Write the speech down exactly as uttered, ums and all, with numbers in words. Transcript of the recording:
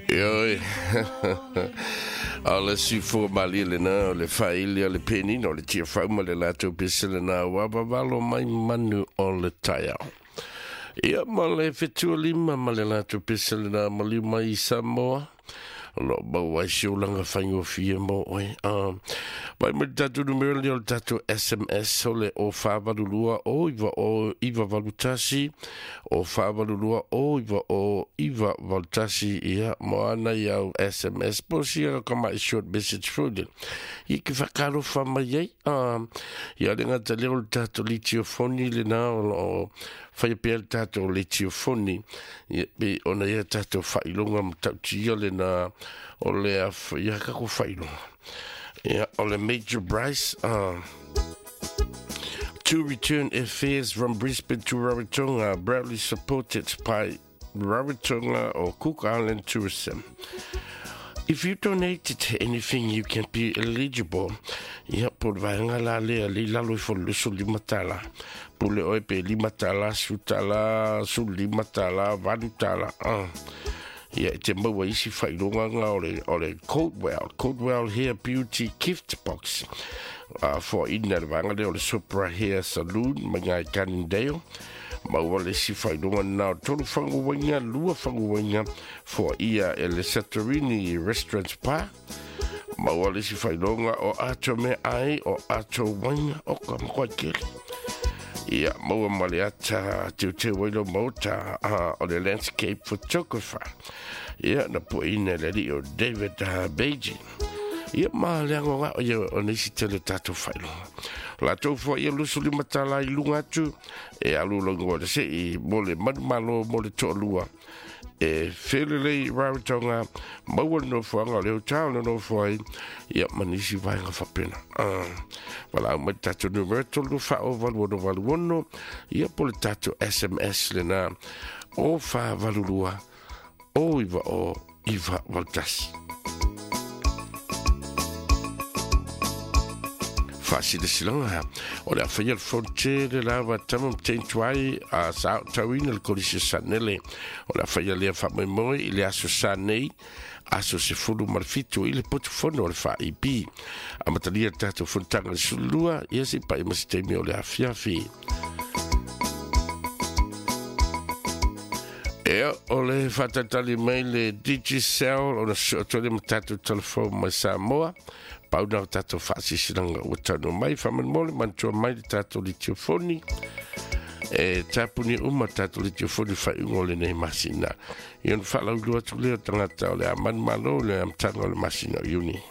Ioe. O le sifua malie lena o le faili o le penina o le tiafau ma le latou pese lena ua vavalo mai manu o le taeao. Ia ma le fetua lima ma le latou pese lena maliu mai i Samoa. O loo maua ai se olaga faigofie mo oe. Vai mai le tatou numera lea o le tatou S M S o le o fa valu lua o iva o iva valu tasi o fa valu lua o iva o iva valu tasi. Ia mo ana i au S M S po sia ka mai short message foi. I ke whakalofa mai ai. Ia le ngata lea o le tatou litiofoni lena o loo whai pea le tatou litiofoni. Ia pe ona ia tatou whailonga matautia lena o le ia kako whailonga. Ia o le Major Bryce uh, to return affairs from Brisbane to Rarotonga, proudly supported by Rarotonga or Cook Island Tourism. If you donated anything, you can be eligible. Ia, po le vaenga la lea, le lalo i fo luso lima tala. Pule oe pe lima tala, su tala, su lima tala, valu tala. Uh. Ia, te maua isi whailonga ngā o le, o le Coldwell, Coldwell Hair Beauty Gift Box. Uh, for ina le vaenga lea o le Sopra Hair Saloon, mai ngai Cannondale. Maua le si whailonga nā o tolu whanguwainga, lua whanguwainga, for ia e le Satorini Restaurant Spa. Maua le si whailonga o ato me ai, o ato wainga, o ka makoa kele. Ia, maua ma le ata teu te wailo mauta uh, o le landscape photographer. Ia, na po ina le li o David uh, Beijing. Ia, ma le ango ngā o ia o nisi tele tātou whailonga. La tau fua ia lusu lima tala i lunga atu, e alu longo le se i mo le manumalo mo le to'alua. E whirlelei Rarotonga, maua le nofoanga o le hotel le nofoa ai, ia manisi vaenga whapena. Uh, wala au mai tātou numero tolu wha o valu ono valu ono, ia po le tātou S M S le nā o wha valu lua, o iwa o iwa valu tasi. Faasilasilanga o le afaia le fonte le lava tama mteintuai a sa tauina le kolisi sanele o le afaia lea faamoemoe i le aso sa nei aso se fulu ma le fitu i le potufono o le F A I B amatalia le tatou fonotaga le sululua ia se pa'i ma se taimi o le afiafi. Ea o le whātatali mai le Digicel o na soo le ma tatou telefone mai Samoa. Pauna o tātou whaasisilanga ua tauno mai, whamanmole mantua mai le tātou litiofoni. E tāpuni uma tātou litiofoni whaiungo le nei masina. Ia na whaalaulu atu lea tangata o le a manumalo le amtanga o le masina o Iuni.